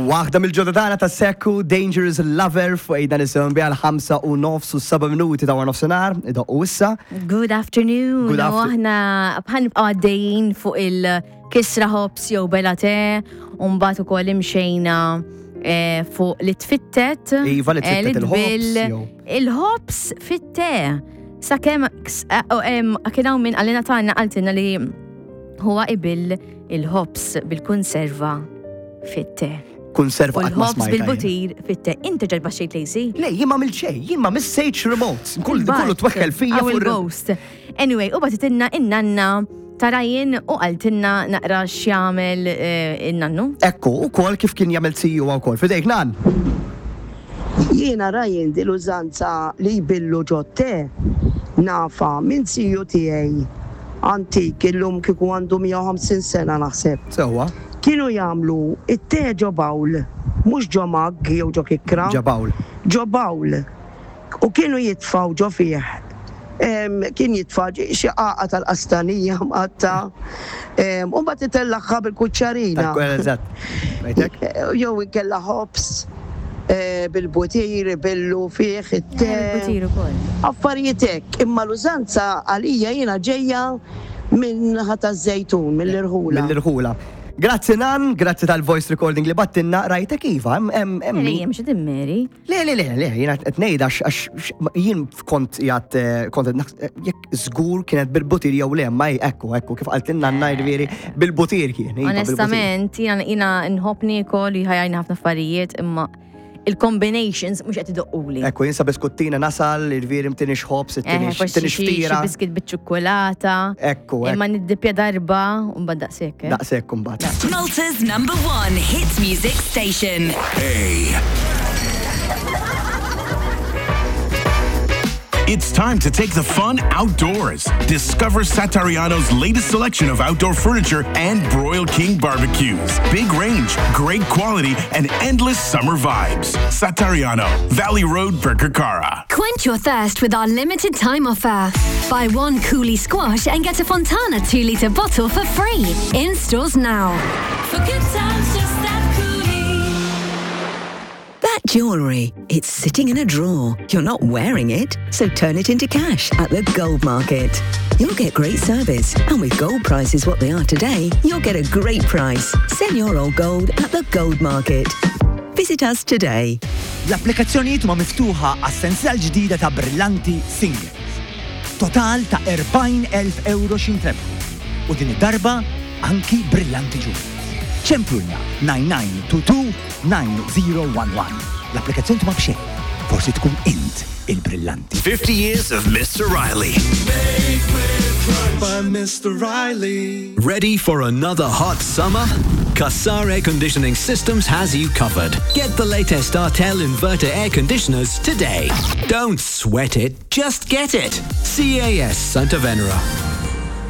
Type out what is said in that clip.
Waħda mill-ġodda tagħna ta' Sekku, Dangerous Lover fuq ejda nisimgħu biha l-5 u nofs u 7 minuti ta' wara nofsinhar, idoqqu issa. Good afternoon. Good U after- aħna bħal nibqgħu għaddejjin fuq il-kisra ħobs jew bela te, u mbagħad ukoll imxejna eh, fuq li tfittet. Iva, li eh, tfittet il-ħobs, tbill jew- Il-ħobs fit-te. Sakemm eh, oh, em, kien hawn min qalilna tagħna qaltilna li huwa ibill il-ħobs bil-konserva fit-te. Konserva U qatt ma l-ħobs smajtha jien. bil-butir fit-te. Inti ġarba xejn Lacey? Le, jien ma xejn, jien ma missejtx remote. Kull But, kullu tweħħel fija I will fuq ir- ghost. Anyway, u batitinna in-nanna ta' Ryan u qaltilna naqra x'jagħmel eh, in-nannu. Ekku, u kol kif kien jagħmel siju wkoll. Fidejk nan. Jiena Ryan din l-użanza li jbillu ġo te nafha minn ziju tiegħi antik illum kieku għandu 150 sena naħseb. Sewwa. Kienu jagħmlu t-te ġo bowl, mhux ġo mug jew ġo kikkra. Ġo bowl. Ġo bowl. U kienu jitfgħu ġo fih, kien jitfa' xi qagħqa tal-qastanija mqattgħa, u mbagħad itellagħha bil-kuċċarina. Eżatt. Rajtek? Jew inkella ħobż bil-butir ibillu fih it-te. Bil-butir ukoll. Affarijiet hekk, imma l-użanza għalija jiena ġejja min-naħa taż-Żejtun, mill-irħula. Mill-irħula. Grazzi Nan, grazzi tal-voice recording li battinna, rajtek iva, hemm hemm hemm min- Mary, mhux Mary. Le, le, le, le, jiena qed ngħid għax għax jien kont qiegħed eh, kont qed naħs- eh, jekk żgur kienet bil-butir jew le, ma hi- ekku, ekku, kif qaltilna nanna jiġifieri bil-butir kien. iva, bil-butir. Onestament, jiena jiena nħobb niekol, jħajjarni ħafna affarijiet, imma il-combinations mhux qed idoqquli. Ekku, jinsa biskuttina nasal, jiġifieri mtinix ħobs, Eh, tinix forsi tinix xi xi ftira. biskit biċ-ċukkulata. Ekku, ekku. Imma niddippja darba u mbagħad daqshekk. eh. Daqshekk imbagħad. Malta's number one hit music station. It's time to take the fun outdoors. Discover Satariano's latest selection of outdoor furniture and Broil King barbecues. Big range, great quality, and endless summer vibes. Satariano, Valley Road, Birkirkara. Quench your thirst with our limited time offer. Buy one Cooley squash and get a Fontana 2 litre bottle for free. In stores now. For good times, just that coolie. That jewellery, it's sitting in a drawer. You're not wearing it, so turn it into cash at the gold market. You'll get great service, and with gold prices what they are today, you'll get a great price. Sell your old gold at the gold market. Visit us today. L-applikazzjonijiet huma miftuħa għas-sensiela l-ġdida ta' Brillanti Singles. Total ta' 40,000 euro x'jintrebħu. U din id-darba anki Brillanti Jewels. Ċemplulna 9922 9011. L-applikazzjoni huma b'xejn. Forsi tkun int il-brillanti. 50 years of Mr. Riley. By Mr. Riley. Ready for another hot summer? Cassar Air Conditioning Systems has you covered. Get the latest Artel inverter air conditioners today. Don't sweat it, just get it. CAS Santa Venera.